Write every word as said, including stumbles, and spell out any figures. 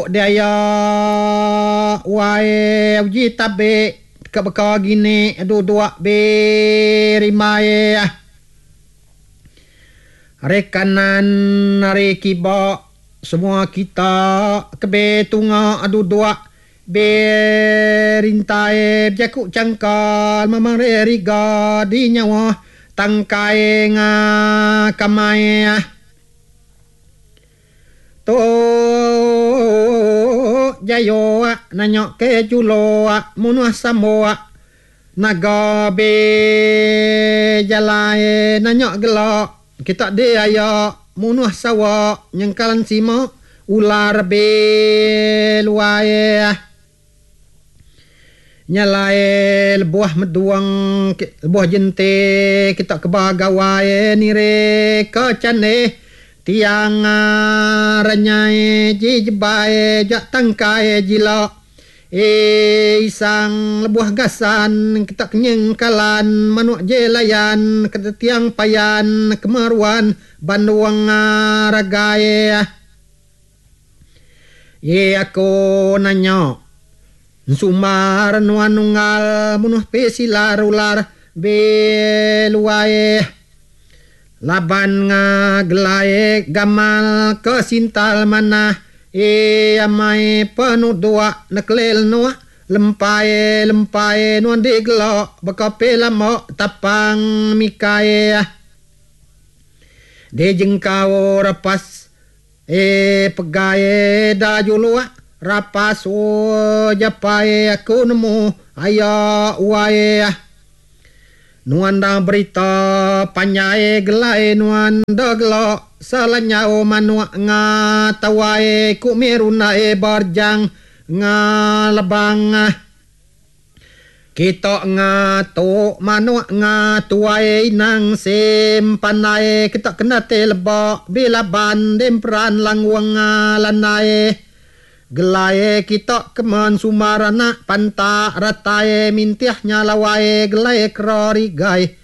Tu dia ya wai uji tabe ke beka gini duduk be rimai hari kanan hari kiba semua kita kebe tunga duduk be rintai jaku cangkal mamang riga di nyawa tangkai nga kamai tu jayo nanya ke julo munuh sambo naga be jalai nanya gelak kita dia ya munuh sawa nyengkalan sima ular be luai nyalai lebuh meduang lebuh jente kita ke bagawai nire ke cane tiang renyai ji jebai jak tangkai jila e isang lebuh gasan kita kenyengkalan manuk jelayan ke tiang payan kemaruan banduang ragai ye aku nanya sumar nuan nunggal munuh pesilar ular beluai laban ngagelai gamal ke sintal manah e amai penuh dua neklel nuak lempai lempai nuan digelok bekape lama tapang mikai de jengkau rapas e pegai da juluak rapas o japai aku nemu aya uai nuan dah berita panjai gelai nuan dah gelok selanyau manuak nga tawai ku mirunai berjang nga lebang kita nga tu manuak nga tuai nang sim pandai kita kena te lebak bila ban demperan langwang lanai gelai kita kemen sumarana pantak ratai mintih nyalawai gelai kerorigai